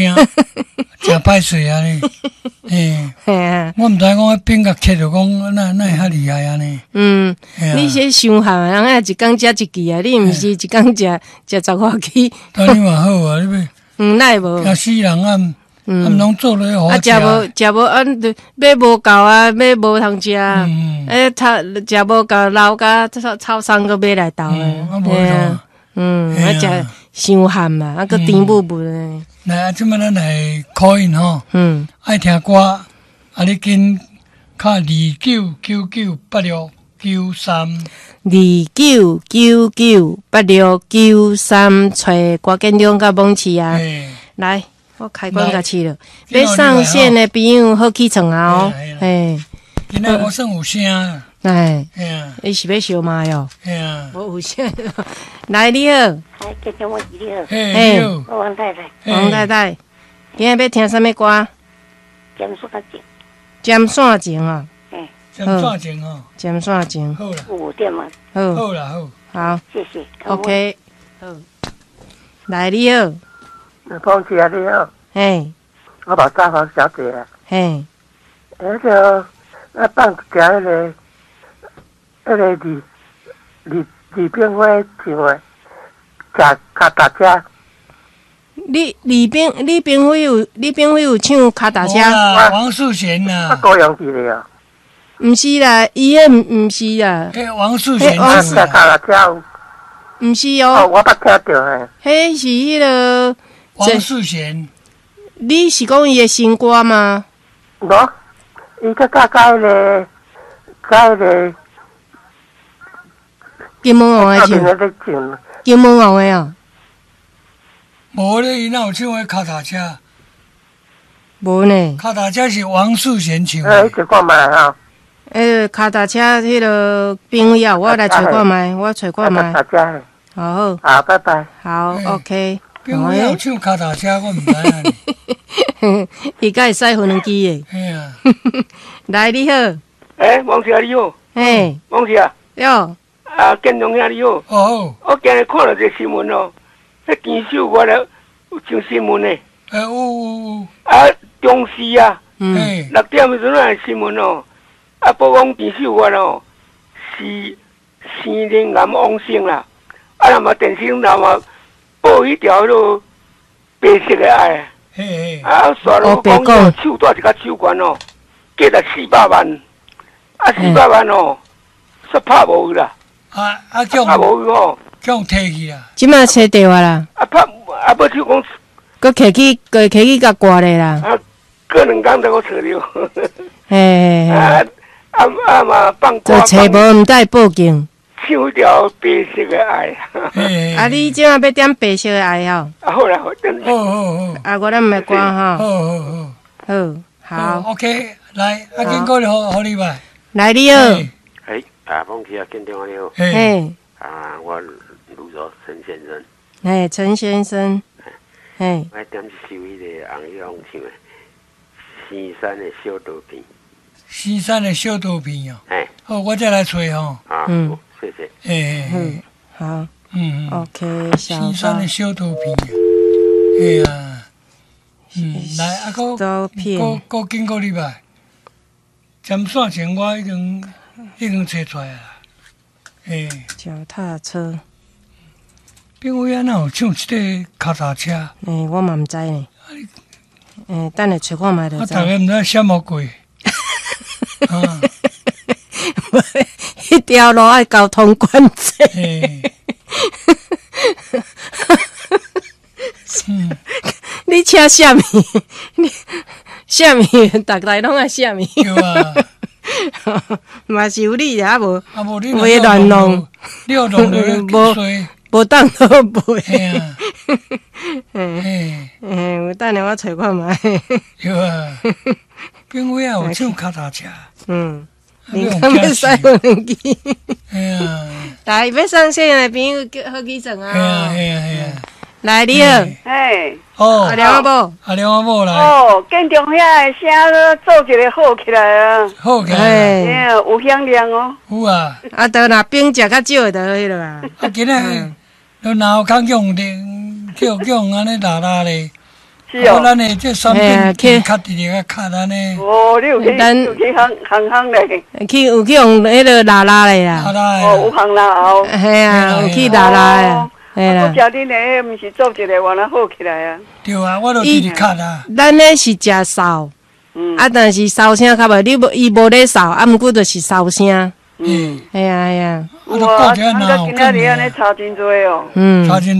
誠歹勢按呢，嘿，嘿啊，我毋知影講彼冰共切著講，哪哪會遐厲害按呢？你這傷譀，人家一工食一支啊，你毋是一工食食十外支。按呢嘛好啊，你欲哪會無？驚死人啊！啊，攏做落好啊，食無食無啊，買無夠啊，買無通食。欸，食食無夠，留甲臭臭桑閣買來投啊。啊，啊，食傷譀啊，啊，閣甜霧霧的。來啊，這擺咱來 call in 吼，愛聽歌，啊，你緊敲29998693，29998693，揣郭建中佮蒙奇啊，來，我開關共試了，欲上線的朋友好起床啊哦，嘿，今仔我算有聲，哎，你是欲相罵喲？嘿啊，無有聲，來你好，哎，建中我你好，嘿，我王太太，王太太，今仔欲聽啥物歌？針線情，針線情啊，針線情哦，針線情，好啦，有點嗎？好，好啦好，好，謝謝，OK，好，來你好，鳳姐你好，嘿，我寶大房小姐啊，嘿，那個我放一條彼個，彼個李李李炳輝唱的，騎跤踏車。李李炳李炳輝有李炳輝有唱跤踏車？王世賢呐，高陽記的啊？毋是啦，伊彼毋毋是啦。彼王世賢騎跤踏車。毋是哦。我捌聽著嘿。彼是彼个王世賢。你是講伊的新歌嗎？無，伊閣佮佮彼个，佮彼个金門王的唱，金門王的哦。無咧，伊哪有唱彼跤踏車？無呢。跤踏車是王世賢唱的。欸，你看覓吼。欸，跤踏車彼个朋友，我來揣看覓，我揣看覓。好好。好，拜拜。好，OK。朋友有唱跤踏車，我毋知影。伊敢會駛無人機的。嘿啊。來，你好。欸，王姐你好。嘿。王姐。喲。啊，建中兄你好。哦。我今日看著一个新聞哦，彼田秀月咧有上新聞呢。欸，有有有。啊，中視啊，6點的時陣的新聞哦，啊，報講田秀月哦是生乳癌往生啦，啊，若嘛電視若嘛報彼條彼落白色的愛，啊，煞落講手帶一個手環哦，價值四百萬，啊，四百萬哦，煞拍無去啦。啊啊！叫拍無去哦，叫提去啊！這馬揣著啊啦。啊拍啊，欲手講，閣提去，閣提去共掛咧啦。啊，過兩工才閣揣著。嘿。啊啊啊嘛放歌。就揣無，毋知報警。唱彼條白色的愛。啊，你這馬欲點白色的愛哦？啊好啦，好。好好好。啊，我咱毋的歌吼。好好好。好，好。 OK，來，啊，緊過來，予你吧。來，你好。哎，啊，鳳姐啊，建中你好。嘿。啊，我盧州陳先生。嘿，陳先生。嘿。我點一首彼个洪一峰唱的《生山的小刀片》。生山的小刀片哦。嘿。好，我再來揣吼。啊，嗯，謝謝。欸，嗯，好。嗯，OK，生山的小刀片。嘿啊。來，啊，閣閣閣緊過禮拜。針線情我已經已經揣出來啦。欸。腳踏車。炳偉啊，哪有唱這个跤踏車？欸，我嘛毋知呢。欸，等下揣看覓就知。啊，逐家毋知啥物鬼。啊！彼條路愛交通管制。你車啥物？你啥物？逐个攏愛啥物？對啊。嘛是有理啊，無啊無你袂亂弄，你又弄落去無無當好賣。嘿啊。嘿，有等下我揣看覓。對啊。炳偉啊，有唱跤踏車。嗯。你敢欲駛無人機？嘿啊！來，欲上線的朋友叫好起床啊！嘿啊嘿啊嘿啊！來，你好。嘿。哦。阿良阿某。阿良阿某來。哦，建中遐的聲做一個好起來啊！好起來。嘿，有響亮哦。有啊。啊，都若冰食較少就彼落啊。啊，今仔都腦殼用的，叫叫按呢拉拉咧，是哦。咱的這產品較直直較較咱的。哦，你有去有去行行行咧？去有去用彼个拉拉的啦。哦，有行拉后。嘿啊，有去拉拉的。嘿啦。我食恁的，毋是做一个原來好起來啊。對啊，我都直直較啦。咱咧是食素，啊，但是燒聲較無，你無伊無咧掃，啊，毋過就是燒聲。嗯，係啊係啊。哇，啊，今仔日按呢差真濟哦。嗯。差真。